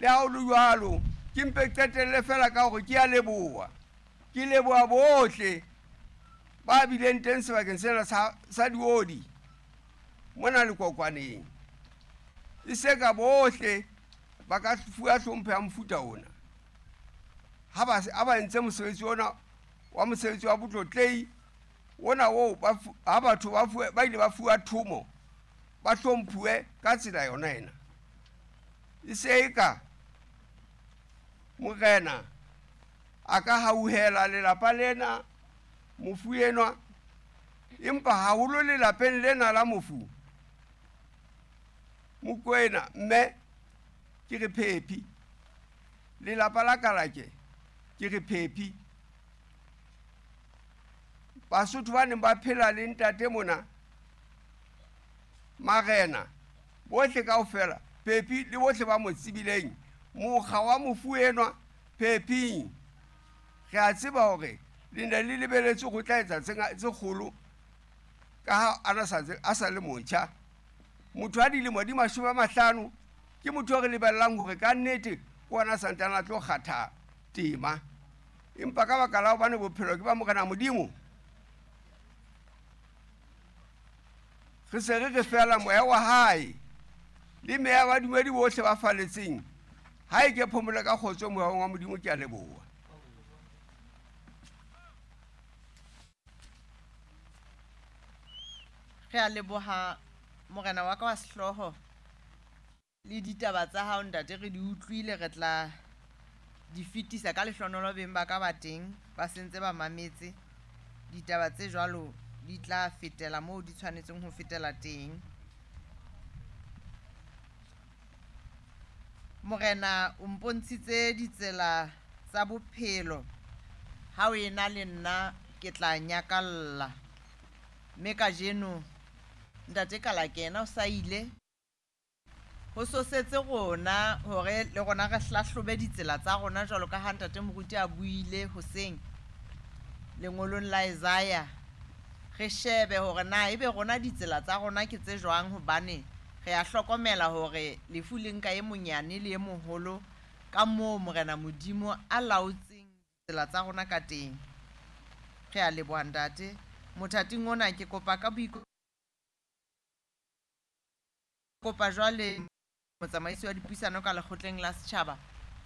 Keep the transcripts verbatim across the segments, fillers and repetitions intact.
Le ha ho le jwalo, ke mpe qetelle fela ka hore ke a leboha. Ke leboha bohle ba bileng teng sebakeng sena sa, sa Diodi mona Lekokwaneng. E se ka bohle ba ka fuwa hlompho ya mofuta ona. Ha ba, ha ba entse mosebetsi ona wa mosebetsi wa botlotlehi ona oo ba fu-, ha batho ba fuwe, ba ile ba fuwa thomo, ba hlomphuwe ka tsela yona ena. E se eka morena a ka hauhela lelapa lena mofu enwa, empa haholo lelapeng lena la mofu Mokoena mme ke re phephi, lelapa la Kalake ke re phephi. Basotho ba neng ba phela le ntate mona, marena bohle kaofela phephi le bohle ba mo tsebileng, mokga wa mofu enwa phephing, re a tseba hore le ne le lebeletse ho tla etsa tse nga-, tse kgolo ka ha a na sa tse-, a sa le motjha. Motho a dilemo di mashome a mahlano ke motho o re lebellang hore ka nnete ke ona santsane a tlo kgatha tema, empa ka baka la hobane bophelo ke ba Morena Modimo, re se re re fela moya wa hae le meya ba badumedi bohle ba faletseng. Ha e ke phomole ka kgotso moya wa Modimo, ke a leboha. Re a leboha morena wa ka wa sehlooho le ditaba tsa hao ntate, re di utlwile, re tla di fetisa ka lehlohonolo beng ba ka ba teng ba sentse ba mametse. Ditaba tse jwalo di tla fetela moo di tshwanetseng ho fetela teng. Morena o mpontshitse ditsela tsa bophelo, ha o ena le nna ke tla nyakalla. Mme kajeno ntate Kalake yena o sa ile, ho sosetse rona hore le rona re hlahlobe ditsela tsa rona jwalo ka ha ntate moruti a buile hoseng lengolong la Isaiah. Re shebe hore na ebe rona ditsela tsa rona ke tse jwang, hobane re a hlokomela hore lefu le nka e monyane le e moholo ka moo Morena Modimo a laotseng ditsela tsa rona ka teng. Re a leboha ntate. Mothating ona ke kopa ka boiko-, kopa jwale motsamaisi wa dipuisano ka lekgotleng la setjhaba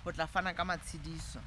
ho tla fana ka matshediso.